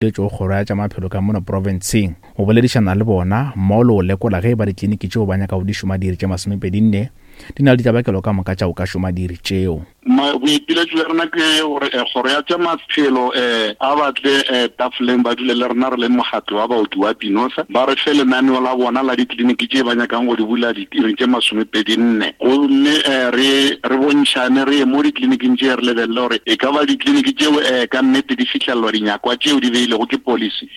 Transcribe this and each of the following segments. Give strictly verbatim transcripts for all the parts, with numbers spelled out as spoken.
Tšo kgoro ya tša maphelo ka mono profenseng go boledišana le bona mmogo le go lekola ge e ba ditleliniki tšeo ba nyaka go di šoma diiri tše masomepedi nne di na le ditlabakelo ka moka tša go ka šoma diiri tšeo. Boipiletšo bja rena ke gore kgoro ya tša maphelo um a batle tafoleng ba dule le rena re le mokgatlo wa baoki wa Pinosa, ba re fe lenaneo la bona la ditleliniki tše ba nyakang go di bula diiring tše masomepedi nne, gomme re re bontšhane re ye mo ditleliniking tše re lebelele gore e ka ba ditleliniki tšeo um ka nnete di fihlelelwa dinyakwa tšeo di beilego ke policy.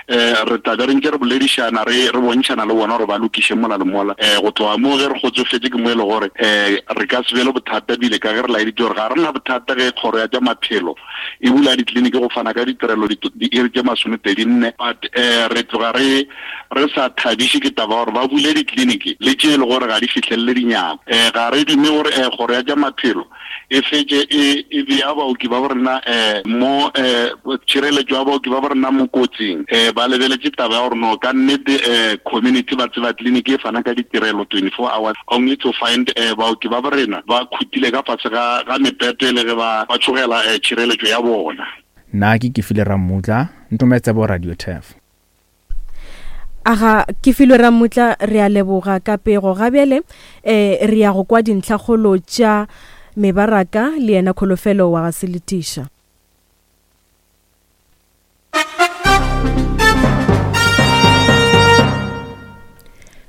Um re tla be re ntše re boledišana re re bontšhana le bona gore ba lokiše mola le mola. Um go tloga moo ge re kgotsofetše ke mo e le gore um re ka se be le bothata, bile ka ge re laeditše gore ga re na bothata ge kgoro ya tša maphelo e bula ditleliniki go fana ka ditirelo diiri tše masomepedi nne, but um re tloga re re sa thabiše ke taba gore ba bule ditleliniki le tše e le gore ga di fihlelele dinyako. Um ga re dume gore um kgoro ya tša maphelo e fetše e e bea baoki ba borena um mo um tšhireletšo ya baoki ba borena mo kotsing. Um ba lebeletše taba ya gore no ka nnete um community ba tseba tleliniki e fana ka ditirelo twenty-four hours, only to find um baoki ba borena ba khutile ka fase ga ga mepete le ge ba ba tšhogela um tšhireletšo ya bona. Nna ke Kefile Rammutla, Ntometsebo Radio Turf. Aga ke filwe Rammutla, re a leboga ka pego. Ga bjale eh re ya go kwa dintlhakgolo tša mebaraka le yena Kholofelo wa ga Seletiša.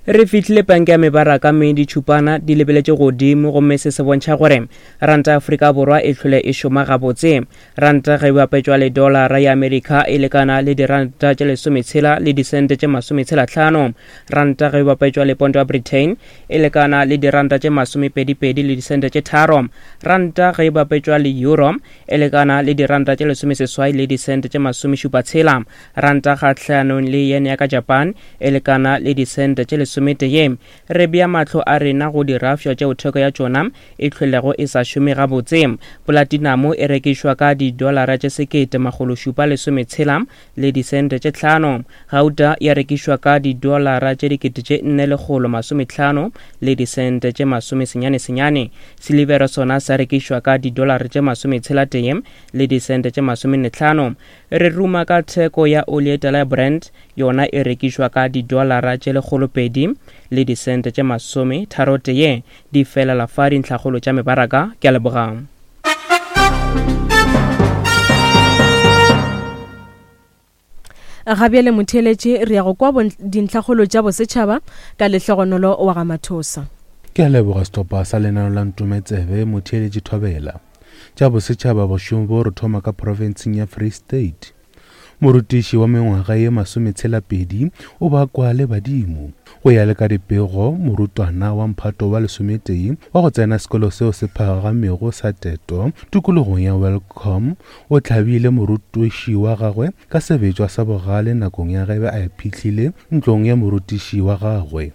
Re fihlile panke ya mebaraka mme ditšhupana di lebeletše godimo, gomme se se bontšha gore ranta ya Afrika Borwa e hlole e šoma gabotse. Ranta ge e bapetšwa le dolara ya Amerika e lekana le diranta tše lesometshela le disente tše masometshela hlano. Ranta ge e bapetšwa le ponto ya Britain e lekana le diranta tše masomepedipedi le disente tše tharo. Ranta ge e bapetšwa le euro e lekana le diranta tše lesomeseswai le disente tše masomešupatshela. Ranta kgahlanong le yen ya ka Japan e lekana le disente tše lesometee. Re bea mahlo a rena go dirafša tšeo theko ya tšona e hlwelego e sa šome gabotse. Platinum e rekišwa ka didolara tše sekete makgolo šupa lesometshela le disente tše hlano. Gauta ya rekišwa ka didolara tše dikete tše nne lekgolo masomehlano le disente tše masomesenyane senyane. Silivera sona sa rekišwa ka didolara tše masometshela tee le disente tše masomenne hlano. Re ruma ka theko ya oli e tala ya Brent, yona e rekišwa ka didolara tše lekgolo pedi le disente tše masome tharo tee. Di felela fa dintlhakgolo tša mebaraka. Ke a leboga. Ga bjale motheeletše re ya go kwa dintlhakgolo tša bosetšhaba ka Lehlogonolo wa ga Mathosa. Ke a leboga sehlopha sa lenaneo la Ntometsebe motheeletše Thobela. Tša bosetšhaba bošego bo re thoma ka profenseng ya Free State. Morutiši wa mengwaga ye masometshela pedi o bakwa le badimo. Go ya le ka dipego, morutwana wa mphato wa lesometee wa go tsena sekolo seo se phagamego sa Teto tikologong ya Welkom o hlabile morutiši wa gagwe ka sebetšwa sa bogale nakong ya ge a iphihlile ntlong ya morutiši wa gagwe.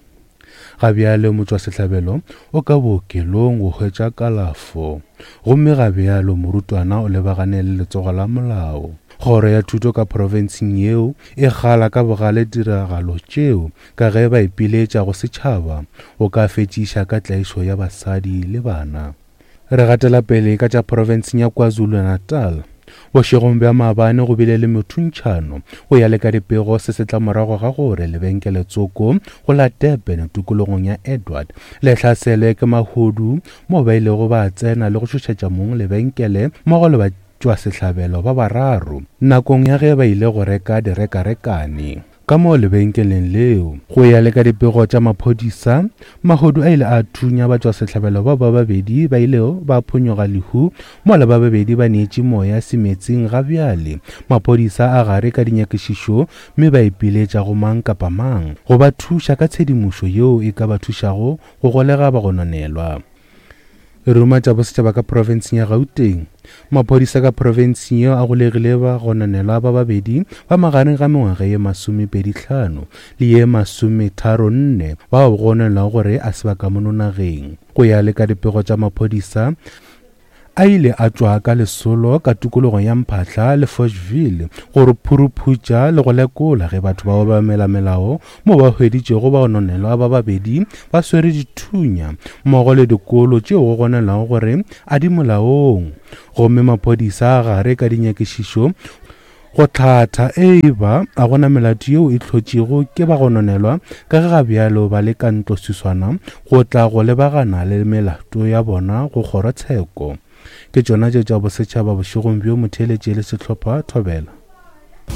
Ga bjale motšwasehlabelo o ka bookelong go hwetša kalafo, gomme ga bjalo morutwana o lebagane le letsogo la molao. Kgoro ya thuto ka profenseng yeo e gala ka bogale tiragalo tšeo ka ge ba ipiletša go setšhaba go ka fetšiša ka tlaišo ya basadi le bana. Re gatela pele ka tša profenseng ya KwaZulu-Natal. Bošegong bja maabane go bile le mothuntšhano go ya le ka dipego se se tla morago ga gore lebenkele tsoko go la Durban tikologong ya Edward le hlaselwe ke mahodu mo ba ilego ba tsena le go tšhošetša mong lebenkele mmogo le batšwasehlabelo ba bararo nakong ya ge ba ile go reka direkarekane ka moo lebenkeleng leo. Go ya le ka dipego tša maphodisa, mahodu a ile a thunya batšwasehlabelo bao ba babedi ba ilego ba phonyoga lehu mola ba babedi ba neetše moya semetseng. Ga bjale maphodisa a gare ka dinyakišišo mme ba ipiletša go mang kapa mang go ba thuša ka tshedimošo yeo e ka ba thušago go golega bagononelwa. Re ruma tša bosetšhaba ka profenseng ya Gauteng. Maphodisa ka profenseng yeo a golegile bagononelwa ba babedi ba magareng ga mengwaga ye masomepedi hlano le ye masometharo nne bao ba gononelwago gore a se ba ka mono nageng. Go ya le ka dipego tša maphodisa, a ile a tšwa ka lesolo ka tikologong ya Mphahla le Fochville gore phuruphutša le go lekola ge batho ba obamela melao mo ba hweditšego bagononelwa ba babedi ba swere dithunya mmogo le dikolo tšeo go gononelwago gore a di molaong. Gomme maphodisa a gare ka dinyakišišo Go hlatha e ba a gona melato yeo e hlotšego ke bagononelwa ka ge ga bjalo ba le ka ntloswiswana go tla go lebagana le melato ya bona go kgorotsheko. Ke tšona tše tša bosetšhaba bošegong bjo motheeletše le sehlopha Thobela.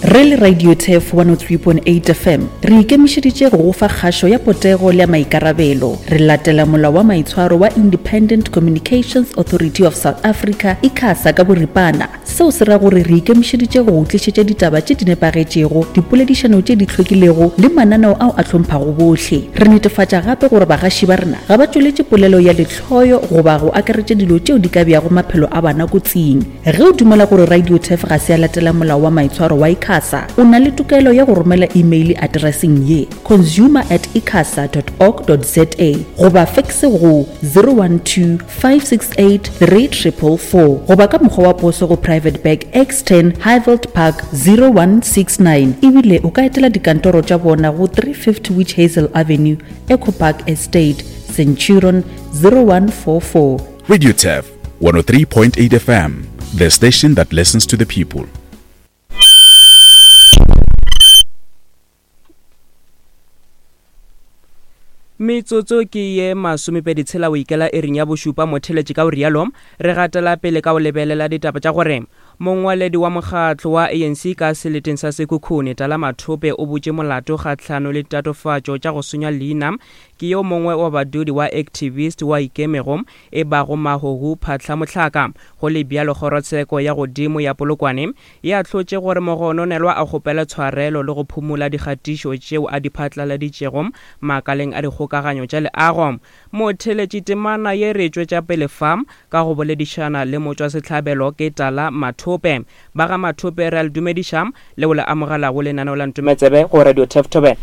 Re le Radio Turf one oh three point eight F M, re ikemišeditše go go fa kgašo ya potego le ya maikarabelo. Re latela molao wa maitshwaro wa Independent Communications Authority of South Africa, ICASA ka boripana. Seo se ra gore re ikemišeditše go go tlišetša ditaba tše di nepagetšego, dipoledišano tše di hlwekilego le mananeo ao a hlomphago bohle. Re netefatša gape gore bagaši ba rena ga ba tšweletše polelo ya lehloyo goba go akaretša dilo tšeo di ka beago maphelo a bana kotsing. Ge o dumela gore Radio Turf ga se ya latela molao wa maitshwaro wa ICASA, o na le tokelo ya go romela email atereseng ye consumer at icasa dot org dot za goba fax go zero one two five six eight three triple four goba ka mokgwa wa poso go Private Bag X ten Highveld Park zero one six nine. Ebile o ka etela dikantoro tša bona go three fifty Witch Hazel Avenue, Echo Park Estate, Centurion zero one four four. Radio Turf one oh three point eight F M, the station that listens to the people. Metsotso ke ye masomepedi tshela o ikela ering ya bošupa motheletše ka o rialo re gatela pele ka o lebelela ditaba tša gore mongwaledi wa mokgatlo wa A N C ka seleteng sa Sekhukhune Tala Mathope o butše molato kgahlano le tatofatšo tša go senya leina ke yo mongwe wa badudi wa activist wa ikemego e bago Mahohu Phatlha Mohlaka. Go le bjalo kgorotsheko ya godimo ya Polokwane e ahlotše gore mogononelwa a kgopele tshwarelo le go phumola dikgatišo tšeo a di phatlaladitšego makaleng a dikgokaganyo tša leago. Motheletši temana ye re tšwetša pele fa ka go boledišana le motšwasehlabelo ke Tala Mathope. Ba ga Mathope re a le dumediša le go le amogela go lenaneo la Ntometsebe go Radio Turf Thobela.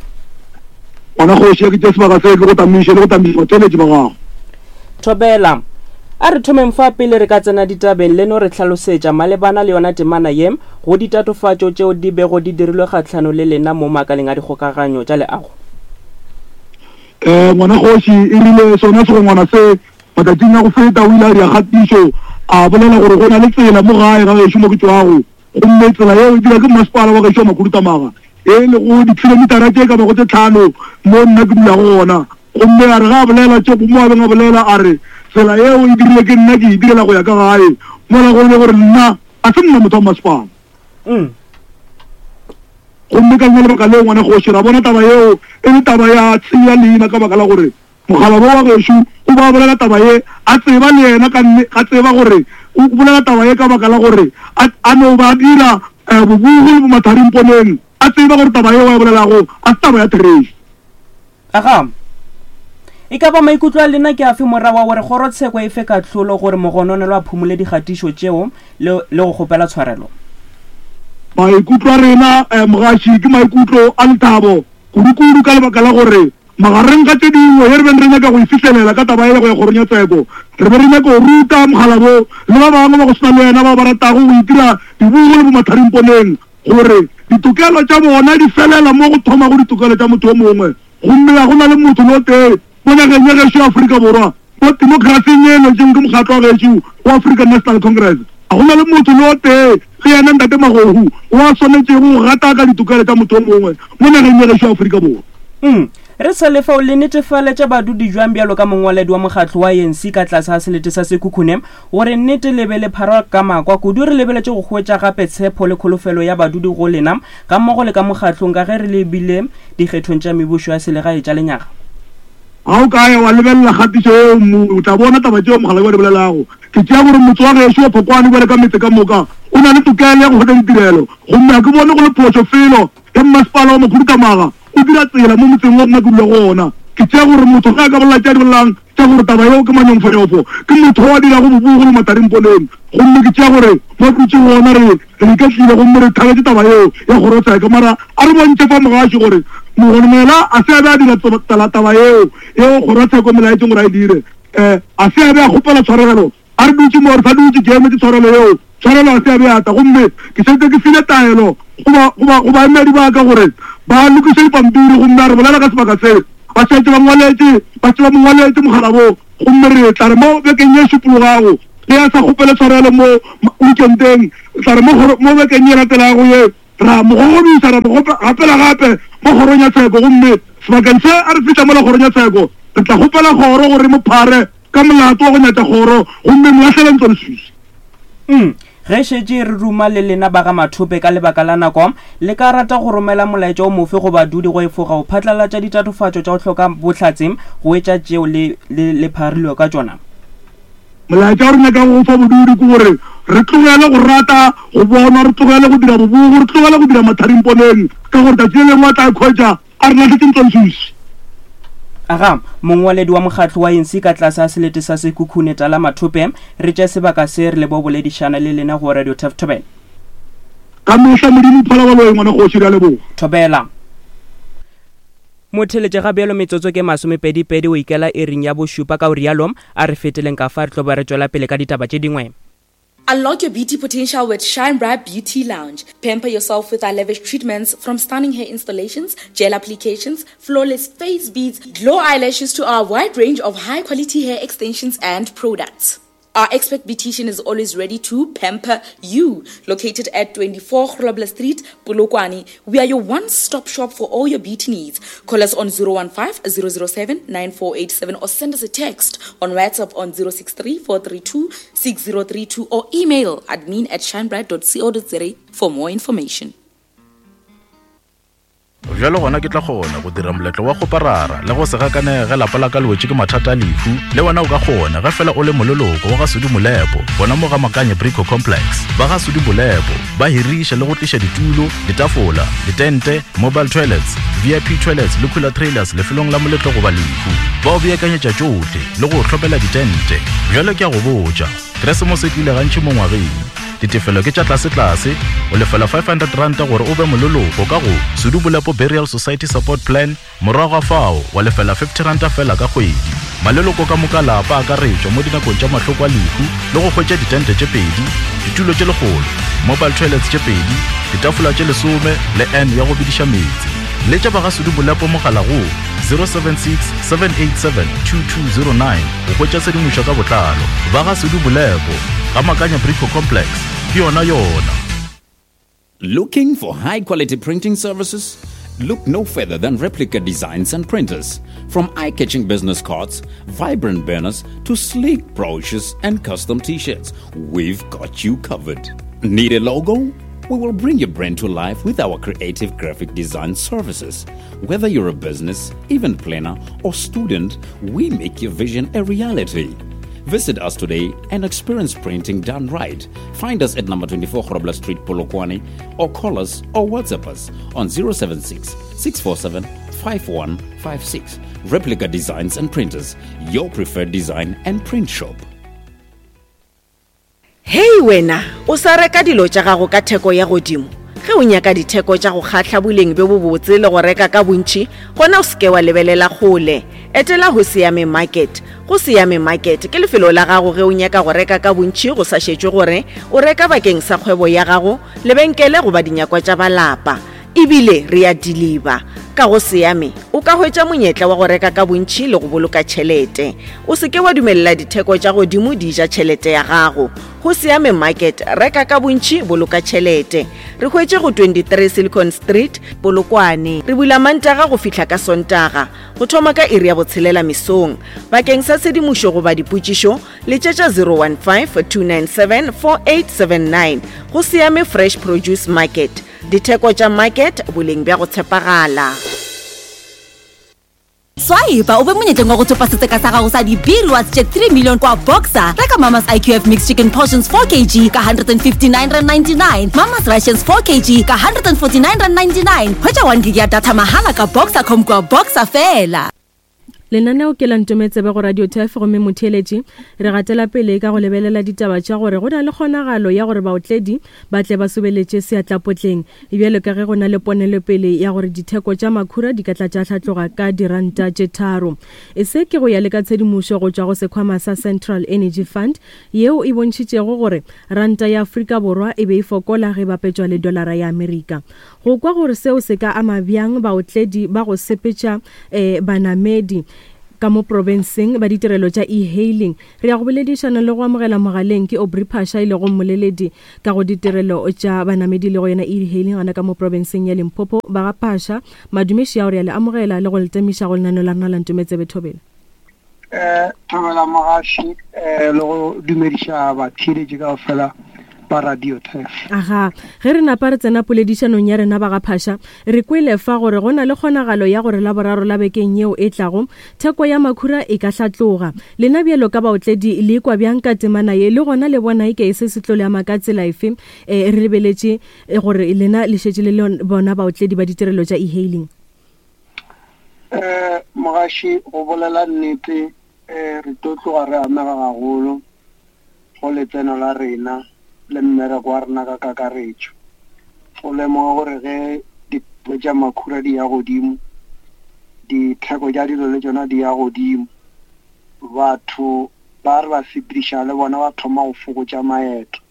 Ngwana kgoši ya ke tše sebaka se ke go tamiše le go tamiša batheeletši ba gago. Thobela, a re thomeng fa pele re ka tsena ditabeng le no re hlalosetša malebana le yona temana ye go ditatofatšo tšeo di bego di dirilwe kgahlano le lena mo makaleng a dikgokaganyo tša leago. Eh ngwana kgoši e rile sona segongwana se matšatšing a go feta o ile a dira kgatišo a bolela gore go na le tsela mo gae ga gešo mo ke tšwago, gomme tsela yeo e dira ke masepala wa gešo wa Makhuduthamaga e lego dikilomitara tše ka bago tše tlhano mo nna ke dulago gona. Gomme a re ga a bolela tše mo a beng a bolela a re tsela yeo e dirile ke nna ke e direla go ya ka gae, mola go le gore nna a se nna motho wa masepala. Gomme ka lona lebaka leo ngwana kgoši ra bona taba yeo e le taba ya tsenya leina ka baka la gore mokgalabo wa gešo o ba bolela taba ye a tseba le yena ka nne a tseba gore o bolela taba ye ka baka la gore a no ba dira bobugu le bomatharimponeng, a tseba gore taba yeo a e bolelago a se taba ya therešo. Aga, e ka ba maikutlo a lena ke afe morago wa gore kgorotsheko e fe kahlolo gore mogononelwa a phumole dikgatišo tšeo le le go kgopela tshwarelo? Maikutlo a rena mogaši ke maikutlo a lethabo kudu-kudu ka lebaka la gore magareng ga tše dingwe ye re beng re nyaka go e fihlelela ka taba ye go ya kgorong ya tseko, re be re nyaka go ruta mokgalabo le ba bangwe ba go swana le yena bao ba ratago go itira dibugu le bomatharimponeng gore ditokelo tša bona di felela mo go thomago ditokelo tša motho yo mongwe. Gomme ga go na le motho le o tee mo nageng ya gešo ya Afrika Borwa mo demokrasing ye lwetšeng ke mokgatlo wa gešo wa African National Congress, ga go na le motho le o tee le yena ntate Magohu wa swanetšego go gataka ditokelo tša motho yo mongwe mo nageng ya gešo ya Afrika Borwa. Mm. Re sa le fao le netefaletša badudi jwang bjalo ka mongwaledi wa mokgatlo wa A N C ka tlase ga selete sa Sekhukhune gore nnete le be le pharwa ka makwa kudu re lebeletše go hwetša gape tshepo le kholofelo ya badudi go lena ga mmogo le ka mokgatlong ka ge re lebile dikgethong tša mebušo ya selegae tša lenyaga? Ga o ka ya wa lebelela kgatišo yeo o tla bona taba tšeo mokgalabje wa di bolelago. Ke tšea gore motse wa gešo wa Phokwane bjale ka metse ka moka o na le tokelo ya go hwetša ditirelo, gomme ga ke bone go le phošo felo ge mmasepala wa Makhuduthamaga o dira tsela mo motseng wa nna ke dula go ona. Ke tšea gore motho ge a ka bolela tše a di bolelang tša gore taba yeo ke manyongfonyofo, ke motho wa dirago bobugu le matarimponeng. Gomme ke tšea gore mo dutše gona re re iketlile gomme re thabetše taba yeo ya kgorotsheko. Mara a re bontšhe fa mogaši gore mogononela a se a be a dira taba yeo yeo kgorotsheko melaetšeng gore a e dire, um a se a be a kgopela tshwarelo. A re dutše mo re sa dutše ke emetse tshwarelo yeo, tshwarelo a se a be a tla. Gomme ke šetše ke file taelo go baemedi ba ka gore ba lokiše dipampiri, gomme a re bolela ka sebaka se ba šetše ba ngwaletše ba šetše ba mo ngwaletše mokgalabo. Gomme re tla re mo bekeng ye šupologago ge a sa kgopele tshwarelo mo weekendeng, tla re mo mo bekeng ye latelago ye Ra mo gogobisa, ra mo gapela gape mo kgorong ya tsheko, gomme sebakeng se a re fihla mo la kgorong ya tsheko, re tla kgopela kgoro gore mo phare ka molato wa go nyatša kgoro, gomme mo lahlele ntlo leswiswi. Mm. Ge šetše re ruma le lena ba ga Mathope ka lebaka la nako, le ka rata go romela molaetša o mofe go badudi go efoga go phatlalatša ditatofatšo tša go hloka bohlatse go etša tšeo le, le, le pharilwe ka tšona? Molaetša o re nyakago go fa bodudi ke gore re tlogele go rata go bonwa, re tlogele go dira bobogo, re tlogele go dira matharimponeng, ka gore tšatši le lengwe a tla ikhwetša a re lahletše ntlo leswiswi. Aga, mongwaledi wa mokgatlo wa A N C ka tlase a selete sa Sekhukhune Tala Mathope, re tše sebaka se re le bo boledišana le lena go Radio Turf Thobela. Ka mehla Modimo phala ba loe ngwana kgoši, re a leboga. Thobela. Motheletše ga bjalo metsotso ke masomepedi-pedi o ikela iring ya bošupa, ka o rialo a re feteleng ka fa re tlo ba re tšwela pele ka ditaba tše dingwe. Unlock your beauty potential with Shine Bright Beauty Lounge. Pamper yourself with our lavish treatments, from stunning hair installations, gel applications, flawless face beads, glow eyelashes to our wide range of high-quality hair extensions and products. Our expert beautician is always ready to pamper you. Located at twenty-four Grobler Street, Polokwane, we are your one-stop shop for all your beauty needs. Call us on zero one five, zero zero seven, nine four eight seven or send us a text on WhatsApp on zero six three, four three two, six zero three two or email admin at shinebright dot co dot za for more information. Bjalo gona ke tla kgona go dira moletlo wa go parara le go se gakanege ge lapa la ka le wetše ke mathata a lehu. Le wena o ka kgona ge fela o le moleloko wa ga Sudi Molepo, gona mo ga Makanye Brico Complex. Ba ga Sudi Molepo ba hiriša le go tliša ditulo, ditafola, ditente, mobile toilets, V I P toilets le cooler trailers lefelong la moletlo goba lehu. Ba o beakanyetša tšohle le go hlopela ditente. Bjalo ke a go botša, Keresemose e tlile gantši mo ngwageng. Ditefelo ke tša tlase-tlase, o lefela five hundred ranta gore o be moleloko ka go Sudi Molepo Burial Society Support Plan, morago ga fao wa lefela fifty ranta fela ka kgwedi. Maleloko ka moka lapa a akaretšwa mo dinakong tša mahloko a lehu le go hwetša ditente tše pedi, ditulo tše lekgolo, mobile toilets tše pedi, ditafola tše lesome le N ya go bediša meetse. Letša ba ga Sudi Molepo mogala go zero seven six, seven eight seven, two two zero nine go hwetša tshedimošo ka botlalo. Ba ga Sudi Molepo, ga Makanya Brico Complex, ke yona yona. Looking for high quality printing services? Look no further than Replica Designs and Printers. From eye-catching business cards, vibrant banners, to sleek brochures and custom t-shirts, we've got you covered. Need a logo? We will bring your brand to life with our creative graphic design services. Whether you're a business, event planner, or student, we make your vision a reality. Visit us today and experience printing done right. Find us at number twenty-four Grobler Street, Polokwane, or call us or WhatsApp us on zero seven six, six four seven, five one five six. Replica Designs and Printers, your preferred design and print shop. Hei wena, o sa reka dilo tša gago ka theko ya godimo. Ge o nyaka ditheko tša go kgahla boleng bjo bobotse le go reka ka bontši, gona o seke wa lebelela kgole. Etela go Siame Market. Go Siame Market ke lefelo la gago ge o nyaka go reka ka bontši go sa šetšwe gore o reka bakeng sa kgwebo ya gago, lebenkele goba dinyakwa tša balapa. Ebile re a deliver. Ka go Siame o ka hwetša monyetla wa go reka ka bontši le go boloka tšhelete. O seke wa dumelela ditheko tša godimo di ja tšhelete ya gago. Go Siame Market, reka ka bontši, boloka tšhelete. Re hwetše go twenty-three Silicon Street, Polokwane. Re bula Mantaga go fihla ka Sontaga, go thoma ka iri ya botshelela mesong. Bakeng sa tshedimošo goba dipotšišo, letšetša zero one five, two nine seven, four eight seven nine. Go Siame Fresh Produce Market. Ditheko tša market, boleng bja go tshepagala. Swipe o be monyetleng wa go thopa setseka sa gago sa di-B-rewards tše three million kwa Boxer. Reka Mama's I Q F Mixed Chicken Portions four kilograms ka hundred and fifty-nine rand ninety-nine, Mama's Rations four kilograms ka hundred and forty-nine rand ninety-nine. Hwetša one gig ya data mahala ka Boxer.com kwa Boxer fela. Lenaneo ke la Ntometsebe go Radio Turf, gomme motheeletši re gatela pele ka go lebelela ditaba tša gore go na le kgonagalo ya gore baotledi ba tle ba sobeletše seatlapotleng, bjalo ka ge go na le ponelopele ya gore ditheko tša makhura di ka tla tša hlatloga ka diranta tše tharo. E se ke go ya le ka tshedimošo go tšwa go sekhwama sa Central Energy Fund yeo e bontšhitšego gore ranta ya Afrika Borwa e be e fokola ge bapetšwa le dolara ya Amerika. Go kwa gore seo se ka ama bjang baotledi ba go sepetša eh, banamedi, ka mo profenseng ba ditirelo tša e-hailing. Re ya go boledišana le go amogela mogaleng ke Aubrey Phasha, e lego mmoleledi ka go ditirelo tša banamedi le go yona e-hailing gana ka mo profenseng ya Limpopo. Ba ga Phasha, madumeši ao re ya le amogela le go le temiša go lenaneo la rena la Ntometsebe Thobela. Eh, Thobela mogaši, eh, le go dumediša batheeletši kaofela ba Radio Turf. Aga, ge re napa re tsena poledišanong ya rena ba ga Phasha, re kwele fa gore go na le kgonagalo ya gore Laboraro la bekeng yeo e tlago theko ya makhura e ka hlatloga. Lena bjalo ka baotledi le ikwa bjang ka temana ye, le gona le bona eke se se tlo le ama ka tsela efe? Eh, re lebeletše gore lena le šetše le le bona baotledi ba ditirelo tša e-hailing. Eh, mogaši, go bolela nnete, eh, re tlo tloga re amega gagolo go letseno la rena le mmereko wa rena ka kakaretšo. Go lemoga gore ge ditheko tša makhura di ya godimo, ditheko tša dilo le tšona di ya godimo, batho ba re ba sepediša le bona ba thoma go fokotša maeto.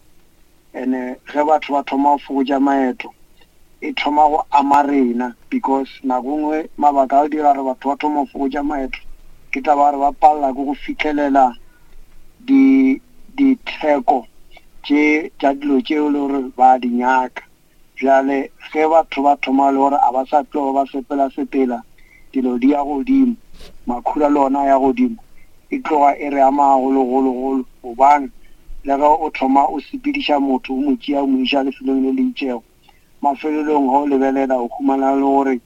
Ene ge batho ba thoma go fokotša maeto, e thoma go ama rena, because nako nngwe mabaka a go dira gore batho ba thoma go fokotša maeto ke taba gore ba palela ke go fihlelela di ditheko tše tša dilo tšeo le gore ba di nyaka. Bjale ge batho ba thoma le gore a ba sa tloga ba sepela sepela, dilo di ya godimo, makhura le ona ya godimo, e tloga e re ama gagologologolo, gobane le ge o thoma o sepediša motho o mo tšea o mo iša lefelong le le itšego, mafelelong ge o lebelela o humana le gore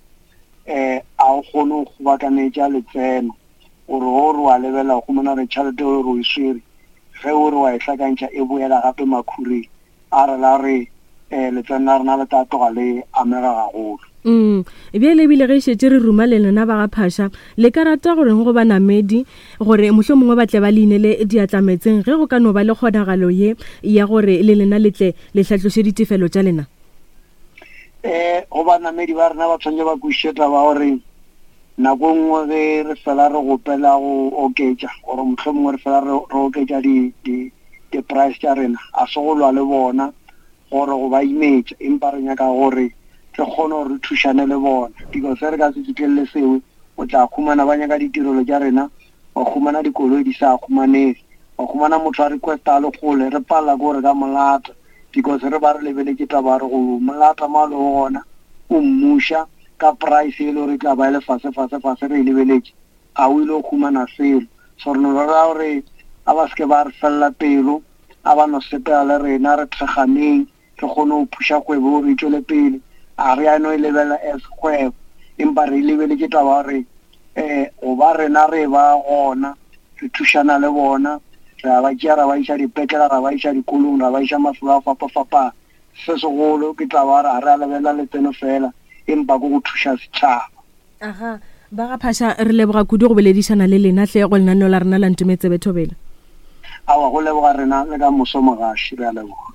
um a o kgone go kgobakanetša letseno, gore ge o re wa lebelela o humana gore tšhelete o re o e swere, ge o re wa e hlakantšha e boela gape makhureng. A re la re um letseno la rena le tla tloga le amega gagolo. Mm, bjale ebile ge šetše re ruma le lena ba ga Phasha, le ka rata goreng go banamedi gore mohlomongwe ba tle ba le inele diatlametseng ge go ka no ba le kgonagalo ye ya gore le lena le tle le hlatloše ditefelo tša lena? Eh, go banamedi ba rena ba tshwanetse ba kwešiše taba gore nako nngwe ge re fela re gopela go oketša, gore mohlomongwe re fela re oketša di di di-price tša rena, a se go lwa le bona gore go ba imetša, empa re nyaka gore re kgone gore re thušane le bona, because ge re ka se fihlelele seo, o tla humana ba nyaka ditirelo tša rena, wa humana dikoloi di sa humanege, wa humana motho a requesta a le kgole, re palela ke gore ka molata, because re ba re lebeletše taba gore go molata mo a lego gona o mmuša ka price e le gore e tla ba e le fase fase fase re e lebeletše, a o ile go humana selo. So re no rera gore a ba seke ba re felela pelo, a ba no sepela le rena, re thekganeng, re kgone go phuša kgwebo gore e tšwele pele. A re a no e lebelela as kgwebo, empa re e lebeletše taba gore um go ba rena re ba gona, re thušana le bona, re a ba tšea ra ba iša dipetlele, ra ba iša dikolong, ra ba iša mafelo a fapafapana. Se segolo ke taba gore a re a lebelela letseno fela, empa ke go thuša setšhaba. Aga, ba ga Phasha, re leboga kudu go boledišana le lena hle go lenaneo la rena la Ntometsebe Thobela. Aowa, go leboga rena le ka moso mogaši, re a leboga.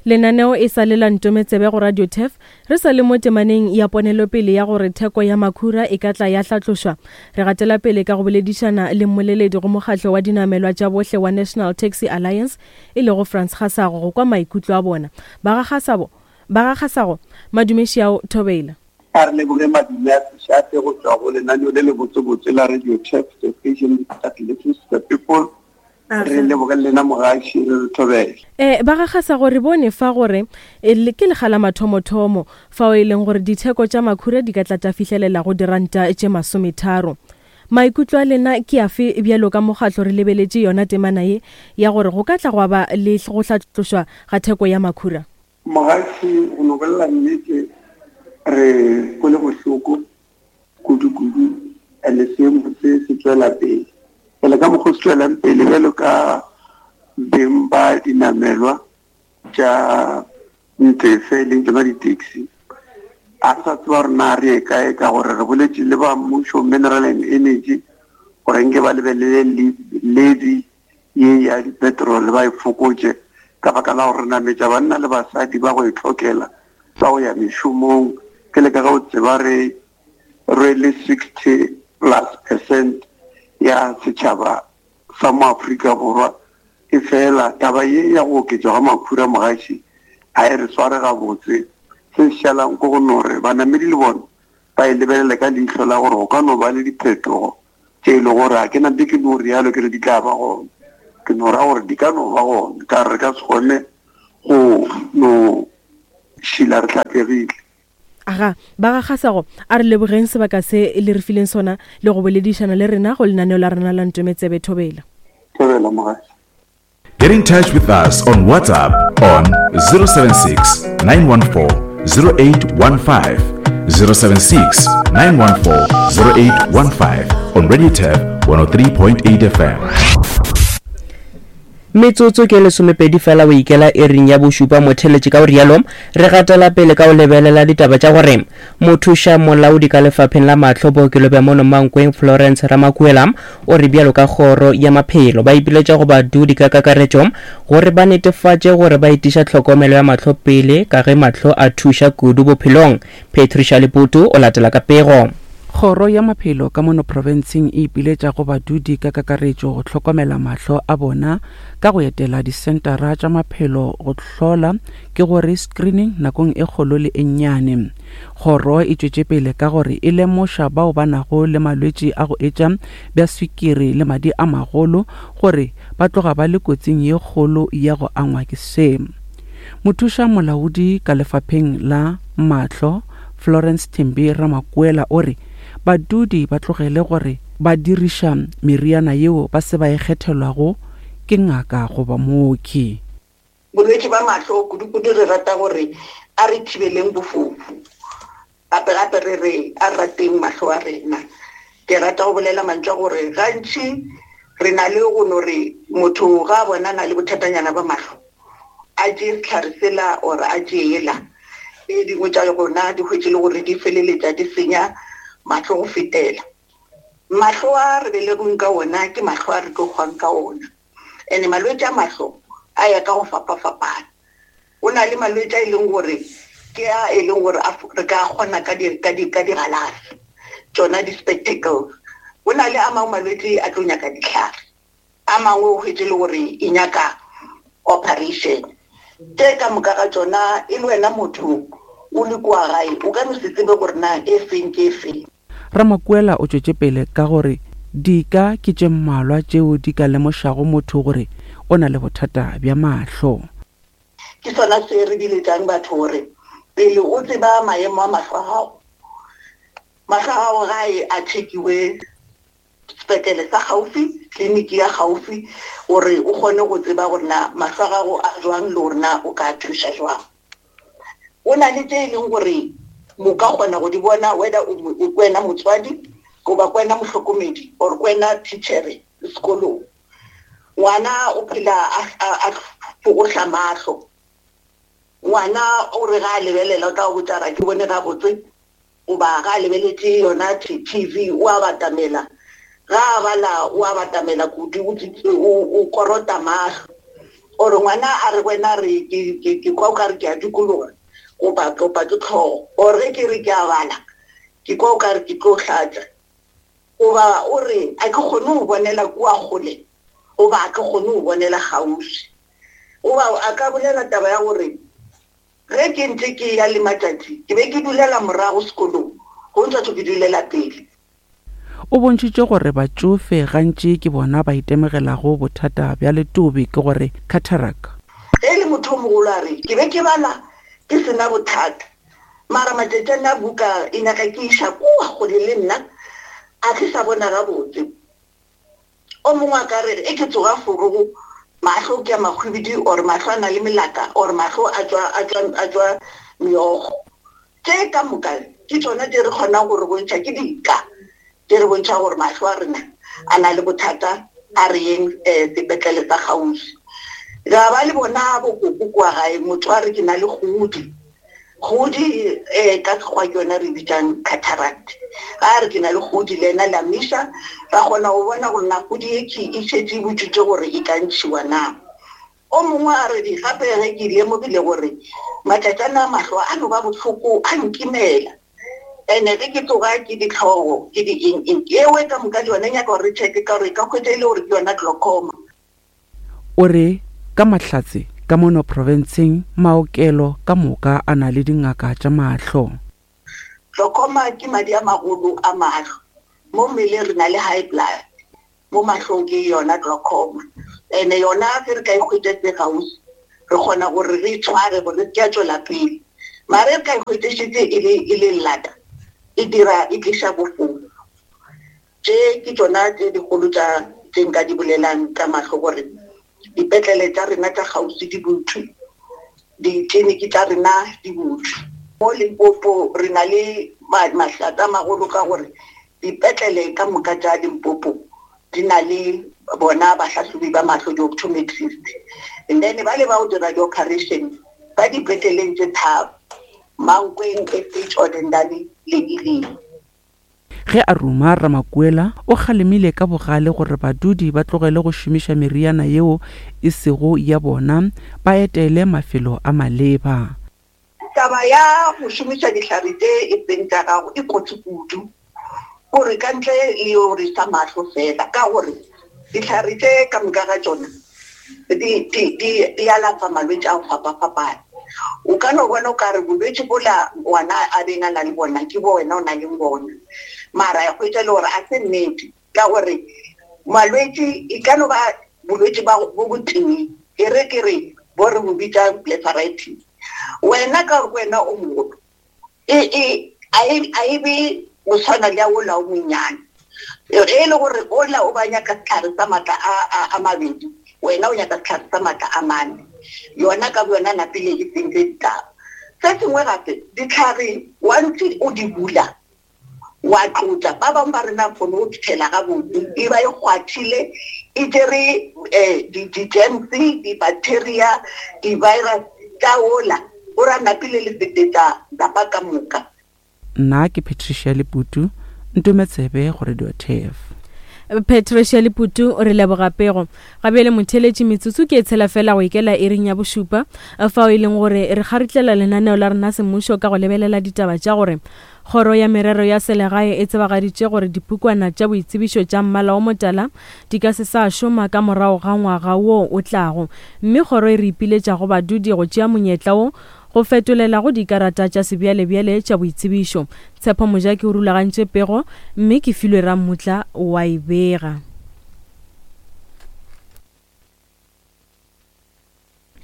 Lenaneo e sa le la Ntometsebe go Radio Turf, re sa le mo temaneng ya ponelopele ya gore theko ya makhura e ka tla ya hlatlošwa. Re gatela pele ka go boledišana le mmoleledi go mokgatlo wa dinamelwa tša bohle wa National Taxi Alliance, e lego Frans Kgasago, go kwa maikutlo a bona. Ba ga Kgasabo, ba ga Kgasago, madumeši ao Thobela. A re leboge madume a sešate go tšwa go lenaneo le le botsebotse la Radio Turf, the station that listens to the people. Re leboge lena mogaši, re Thobela. Eh, ba ga Kgasago, re bone fa gore ke lekga la mathomothomo fao e leng gore ditheko tša makhura di ka tla tša fihlelela go diranta tše masometharo. Maikutlo a lena ke afe bjalo ka mokgatlo re lebeletše yona temana ye ya gore go ka tla gwa ba le go hlatlošwa ga theko ya makhura? Mogaši, go no bolela nnete, re kwele bohloko kudu-kudu, and seemo se se tšwela pele. Pele ka mokgwa o se tšwelang pele bjalo ka beng ba dinamelwa tša ntefe e leng tšona di-taxi, a re sa tseba gore na re ye kae, ka gore re boletše le ba mmušo Mineral and Energy gore nke ba lebelele levy ye ya di-petrol ba e fokotše, ka baka la gore re nametša banna le basadi ba go e tlhokela ba go ya mešomong. Ke le ka ge o tseba re rwele sixty plus percent ya setšhaba sa mo Afrika Borwa, e fela taba ye ya go oketšwa ga makhura mogaši a e re sware gabotse. Se se šalang ko go no re banamedi le bona ba e lebelele ka leihlo la gore go ka no ba le diphetogo tše e le gore a ke nampe ke no rialo ke re di tla ba gona, ke no ra gore di ka no ba gona, ka re ka se kgone go no šila re hlapegile. Aga, ba ga Kgasago, a re lebogeng sebaka se le re fileng sona le go boledišana le rena go lenaneo la rena la Ntometsebe. Thobela. Thobela mogaši. Get in touch with us on WhatsApp on zero seven six, nine one four, zero eight one five, zero seven six, nine one four, zero eight one five on Radio Turf one oh three point eight F M. Metsotso ke lesomepedi fela o ikela ering ya bošupa motheletše ka o rialo re gatela pele ka o lebelela ditaba tša gore mothuša molaodi ka lefapheng la mahlo bookelo bja mono Mankweng Florence Ramakuela o re bjalo ka kgoro ya maphelo ba ipiletša go badudi ka kakaretšo gore ba netefatše gore ba etiša tlhokomelo ya mahlo pele ka ge mahlo a thuša kudu bophelong. Patricia Leputu o latela ka pego. Kgoro ya maphelo ka mono profenseng e ipiletša go badudi ka kakaretšo go hlokomela mahlo a bona ka go etela disentara tša maphelo go hlola ke gore screening nakong e kgolo le e nnyane. Kgoro e tšwetše pele ka gore e lemoša bao ba nago le malwetši a go etša bja swikiri le madi a magolo gore ba tloga ba le kotsing ye kgolo ya go angwa ke se. Mothuša molaodi ka lefapheng la mahlo Florence Thembi Ramakuela o re badudi ba tlogele gore ba diriša meriana yeo ba se ba e kgethelwago ke ngaka goba mooki. Bolwetši ba mahlo kudu-kudu re rata gore a re thibeleng bofofu, gape gape re re a rateng mahlo a rena. Ke rata go bolela mantšu a gore gantši re na le go no re motho ga a bona na le bothatanyana ba mahlo a tšee sehlare sela or a tšee ela, e dingwe tša gona di hwetše le gore di feleletša di senya mahlo go fetela. Mahlo a re belegweng ka ona ke mahlo a re tlo hwang ka ona, ene malwetši a mahlo a ya ka go fapafapana. Go na le malwetši a e leng gore ke a e leng gore re ka kgona ka di ka di ka digalase, tšona di-spectacles. Go na le a mangwe malwetši a tlo nyaka dihlare, a mangwe o hwetše le gore e nyaka operation. Tše ka moka ga tšona e le wena motho o le kua gae o ka no se tsebe gore na e feng ke e feng. Ramakuela o tšwetše pele ka gore dika ke tše mmalwa tšeo di ka lemošago motho gore o na le bothata bja mahlo. Ke sona se re biletšang batho gore pele o tseba maemo a mahlo a gago, mahlo a gago gae a chekiwe sepetlele sa gaufi, tleliniki ya gaufi, gore o kgone go tseba gore na mahlo a gago a jwang le gore na o ka thuša jwang. O na le tše e leng gore mo ka kgona go di bona whether o wena motswadi goba kwena mohlokomedi or kwena teachere sekolong. Ngwana o phela a fogohla mahlo, ngwana o re ga a lebelela o tla go botša ra ke bone gabotse, goba ga a lebeletše yona T V o a batamela, ga a bala o a batamela kudu, o korota mahlo. Or ngwana a re wena re ke kwa o ka re ke a dikologa goba kopa ke tlhogo, or ge ke re ke a bala ke kwa o ka re ke tlo hlatša, goba o re a ke kgone go bonela kua kgole goba a ke kgone go bonela kgauswi. Goba a ka bolela taba ya gore ge ke ntse ke ya le matšatši ke be ke dulela morago sekolong, go ntšha ke dulela pele. O bontšhitše gore batšofe gantši ke bona ba itemogelago bothata bja letobe ke gore cataract. Ge le motho o mogolo a re ke be ke bala ke sena bothata, mara matšatši a buka e nyaka ke iša kua kgole le nna a ke sa bona gabotse. O mongwe a ka re e ke tsoga forogo mahlo ke a mahwibidi or mahlo a na le melaka or mahlo a tšwa a tšwa a tšwa meokgo. Tše ka moka ke tšona tše re kgonang gore bontšha ke dika tše re bontšha gore mahlo a rena a na le bothata, a re yeng sepetlele sa kgauswi. Ra ba le bona bokoko kua gae, motho a re ke na le kgodi, kgodi um ka sekgowa ke yona re bitsang cataract. Ga re ke na le kgodi le ena la miša, ra kgona go bona gore na kgodi e ke e šetše e butšwitše gore e ka ntšhiwa na. O mongwe a re gape ge ke lemogile gore matšatšana a mahlo a no ba bohloko a nkimela, ene ge ke tsoga ke ditlhogo ke di eng eng ewe ka moka le yona nyaka gore re checke ka gore e ka hwetša e le gore ke yona glaucoma. O re ka mahlatse ka mono profenseng maokelo ka moka a na le dingaka tša mahlo. Glaucoma ke madi a magolo a mahlo. Mo mmeleng re na le high blood, mo mahlong ke yona glaucoma. Ene yona ge re ka e hwetša se gausi, re kgona gore re itshware gore re ke a tswela pele. Mare re ka e hwetša šetse e le e le lata, e dira e tliša bofofu. Tše ke tšona tše dikgolo tša tše nka di bolelang ka mahlo gore dipetlele tša rena tša kgauswi di butšwe, ditleliniki tša rena di butšwe. Mo Limpopo re na le mahlatsa a magolo ka gore dipetlele ka moka tša Limpopo di na le bona bahlahlobi ba mahlo, di-optometrist. And then ba le ba o dira di-operation ba dipetleleng tše tharo, Mankweng, S H Odendale le Elim. Ge a ruma Ramakuela o kgalemile ka bogale gore badudi ba tlogele go šomiša meriana yeo e sego ya bona, ba etele mafelo a maleba. Taba ya go šomiša dihlare tše e seng tša gago e kotsi kudu, gore ka ntle le yo re sa mahlo fela, ka gore dihlare tše ka moka ga tšona di, di, di, di alafa malwetši a go fapafapana. O ka no bona o ka re bolwetši bola ngwana a beng a na le bona ke bo wena o na leng bona, mara ya hwetša le gore a se nnete, ka gore malwetši e ka no ba bolwetši ba bo botee, e re ke re bo re bo bitsa blepharitis. Wena ka gore wena o mogolo, e, e, a e, a e be go tshwana le ya ola o monnyane. E e le gore ola o ba nyaka sehlare sa maatla a, a, a mabedi, wena o nyaka sehlare sa maatla a mane. Yona ka boyona napile e sentse ditaba. Se sengwe gape, ditlhare once o di bula, wa tlotla, ba bangwe ba rena kgone go fitlhela gabotse, e ba e kgwathile, e tšere, eh, di, di-germs, di-bacteria, di-virus tša ola, o ra napile le fetetša lapa ka moka. Nna ke Patricia Leputu, Ntometsebe go Radio T F. Patricia Leputu, re leboga pego. Gabjale motheletši, metsotso ke e tshela fela go ikela iring ya bošupa, fao e leng gore re kgaritlela lenaneo la rena semmušo ka go lebelela ditaba tša gore Kgoro ya Merero ya Selegae e tsebagaditše gore dipukwana tša boitsebišo tša mmala o motala di ka se sa šoma ka morago ga ngwaga wo o tlago, mme kgoro e re ipiletša go badudi go tšea monyetla wo go fetolela go dikarata tša sebjalebjale tša boitsebišo. Tshepo Mojaki o rulagantše pego, mme ke filwe Rammutla wa e bega.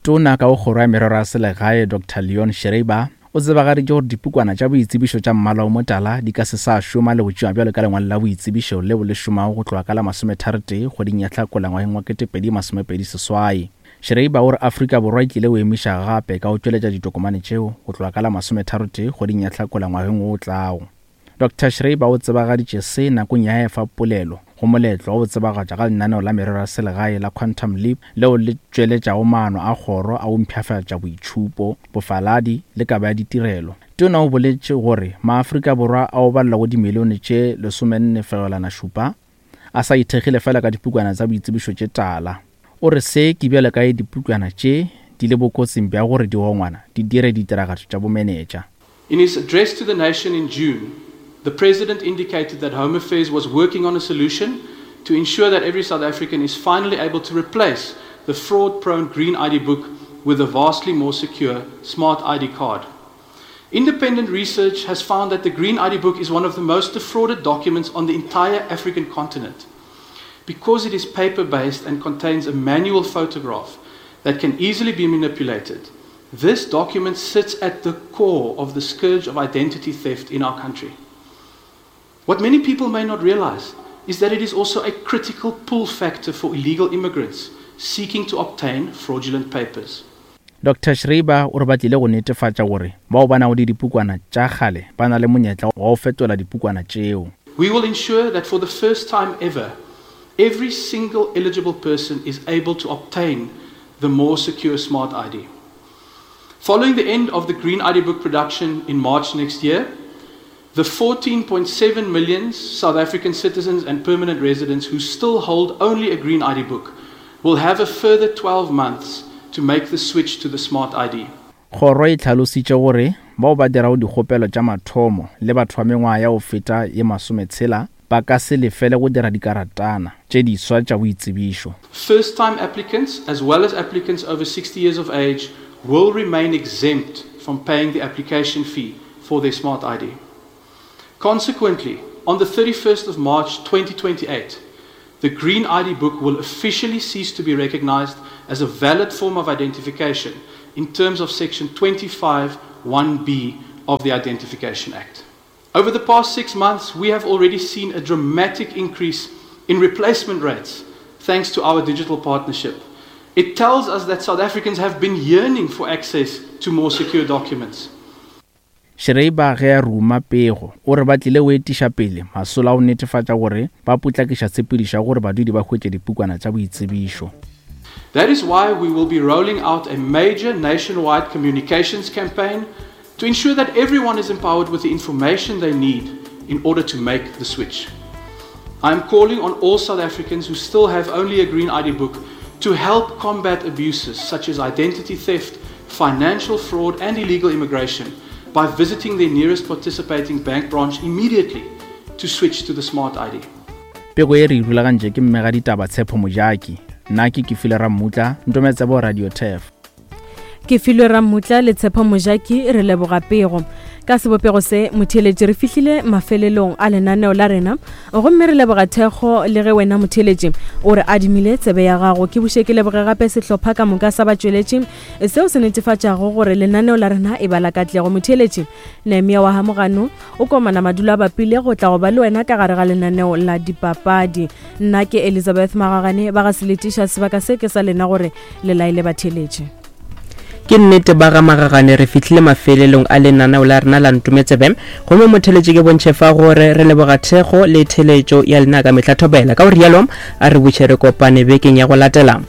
Tona ka go kgoro ya Merero ya Selegae Doctor Leon Schreiber o tsebagaditše gore dipukwana tša boitsebišo tša mmala o motala di ka se sa šoma le go tšewa bjalo ka lengwalo la boitsebišo leo le šomago go tloga ka la masometharotee kgweding ya Hlakola ngwageng wa ketepedi masomepedi seswai. Schreiber o re Afrika Borwa e tlile go emiša gape ka go tšweletša ditokomane tšeo go tloga ka la masometharotee kgweding ya Hlakola ngwageng wo o tlago. Doctor Schreiber o tsebagaditše se nakong ya efa polelo go moletlo wa go tsebagatša ga lenaneo la merero ya selegae la Quantum Leap leo le tšweletšago maano a kgoro a go mpshafatša boitšhupo, bofaladi le kabo ya ditirelo. Tona o boletše gore maAfrika Borwa ao balelwago dimilione tše lesomenne fegelwana šupa a sa ithekgile fela ka dipukwana tša boitsebišo tše tala. O re se ke bjalo ka dipukwana tše di le bokotsing bja gore digongwana di dire ditiragatšo tša bomenetša. In his address to the nation in June, the President indicated that Home Affairs was working on a solution to ensure that every South African is finally able to replace the fraud-prone green I D book with a vastly more secure smart I D card. Independent research has found that the green I D book is one of the most defrauded documents on the entire African continent, because it is paper-based and contains a manual photograph that can easily be manipulated. This document sits at the core of the scourge of identity theft in our country. What many people may not realize is that it is also a critical pull factor for illegal immigrants seeking to obtain fraudulent papers. Doctor Schreiber o re ba tlile go netefatša gore bao ba nago le dipukwana tša kgale ba na le monyetla wa go fetola dipukwana tšeo. We will ensure that for the first time ever, every single eligible person is able to obtain the more secure smart I D. Following the end of the Green I D book production in March next year, the fourteen point seven million South African citizens and permanent residents who still hold only a Green I D book will have a further twelve months to make the switch to the Smart I D. Kgoro e hlalositše gore bao ba dirago dikgopelo tša mathomo le batho ba mengwaga ya go feta ye masometshela ba ka se lefele go dira dikaratana tše diswa tša boitsebišo. First-time applicants as well as applicants over sixty years of age will remain exempt from paying the application fee for their Smart I D. Consequently, on the thirty-first of March twenty twenty-eight, the Green I D book will officially cease to be recognized as a valid form of identification in terms of Section twenty-five one B of the Identification Act. Over the past six months, we have already seen a dramatic increase in replacement rates thanks to our digital partnership. It tells us that South Africans have been yearning for access to more secure documents. Schreiber ge a ruma pego o re ba tlile go etiša pele masola a go netefatša gore ba potlakiša tshepedišo ya gore badudi ba hwetše dipukwana tša boitsebišo. That is why we will be rolling out a major nationwide communications campaign to ensure that everyone is empowered with the information they need in order to make the switch. I am calling on all South Africans who still have only a Green I D book to help combat abuses such as identity theft, financial fraud and illegal immigration by visiting their nearest participating bank branch immediately to switch to the Smart I D. Pego e re rulagantše ke mmega ditaba Tshepo Mojaki. Nna ke Kefilwe Rammutla, Ntometsebo Radio Turf. Ke filwe Rammutla le Tshepo Mojaki, re leboga pego. Ka sebopego se motheeletši re fihlile mafelelong a lenaneo la rena, gomme re leboga thekgo le ge wena motheeletši o re adimile tsebe ya gago. Ke buše ke leboge gape sehlopha ka moka sa batšweletši seo se netefatšago gore lenaneo la rena e ba la katlego. Motheeletši Nehemia wa Hamogano o komana madulo a bapile go tla go ba le wena ka gare ga lenaneo la dipapadi. Nna ke Elizabeth Magagane, ba ga seletiša sebaka se ke sa lena gore le laele batheeletši. Ke nnete ba ga Magagane, re fihlile mafelelong a lenaneo la rena la Ntometsebe, gomme motheeletši ke bontšhe fa gore re leboga thekgo le theletšo ya lena ka mehla thobela. Ka go rialo a re buše re kopane bekeng ya go latela.